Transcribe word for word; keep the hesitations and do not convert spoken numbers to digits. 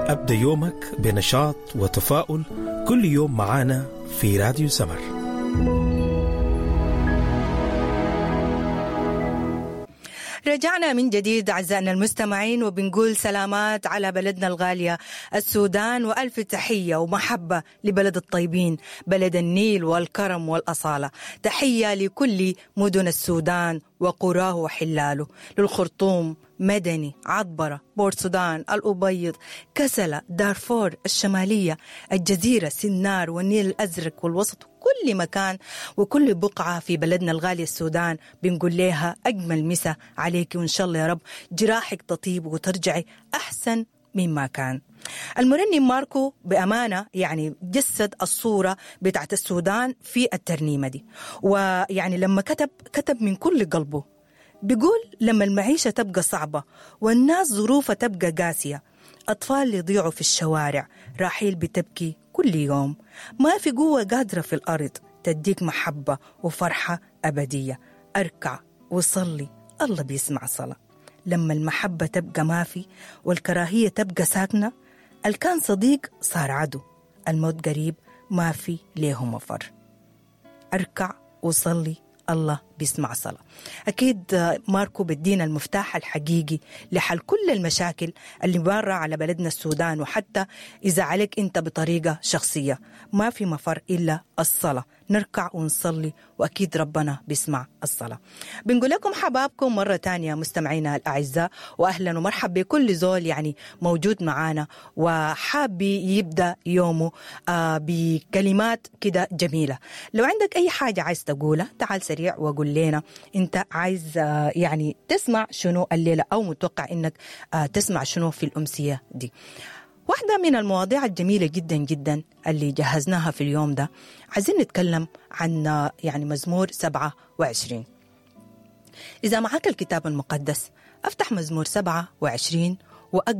أبدأ يومك بنشاط وتفاؤل كل يوم معانا في راديو سمر. رجعنا من جديد أعزائنا المستمعين، وبنقول سلامات على بلدنا الغالية السودان، وألف تحية ومحبة لبلد الطيبين، بلد النيل والكرم والأصالة. تحية لكل مدن السودان وقراه وحلاله، للخرطوم، مدني، عطبرة، بورسودان، الأبيض، كسلة، دارفور، الشمالية، الجزيرة، سنار، والنيل الأزرق والوسط، كل مكان وكل بقعة في بلدنا الغالي السودان بنقول لها أجمل مسا عليك، وإن شاء الله يا رب جراحك تطيب وترجعي أحسن مما كان. المرنم ماركو بأمانة يعني جسد الصورة بتاعت السودان في الترنيمة دي، ويعني لما كتب كتب من كل قلبه. بيقول لما المعيشة تبقى صعبة والناس ظروفها تبقى قاسية، أطفال يضيعوا في الشوارع، راحيل بتبكي كل يوم، ما في قوة قادرة في الأرض تديك محبة وفرحة أبدية. أركع وصلي، الله بيسمع صلاة. لما المحبة تبقى ما في والكراهية تبقى ساكنة، الكان صديق صار عدو، الموت قريب ما في ليه مفر. أركع وصلي، الله بيسمع صلاة. أكيد ماركو بدينا المفتاح الحقيقي لحل كل المشاكل اللي بارة على بلدنا السودان، وحتى إذا عليك أنت بطريقة شخصية ما في مفر إلا الصلاة. نركع ونصلي وأكيد ربنا بيسمع الصلاة. بنقول لكم حبابكم مرة تانية مستمعينا الأعزاء، وأهلا ومرحبا بكل زول يعني موجود معانا وحاب يبدأ يومه بكلمات كده جميلة. لو عندك أي حاجة عايز تقولها تعال سريع وقول لنا أنت عايز يعني تسمع شنو الليلة، أو متوقع أنك تسمع شنو في الأمسية دي. واحدة من المواضيع الجميلة جدا جدا اللي جهزناها في اليوم ده، عايزين نتكلم عن يعني مزمور سبعة وعشرين. إذا معك الكتاب المقدس افتح مزمور سبعة وعشرين وأقرأ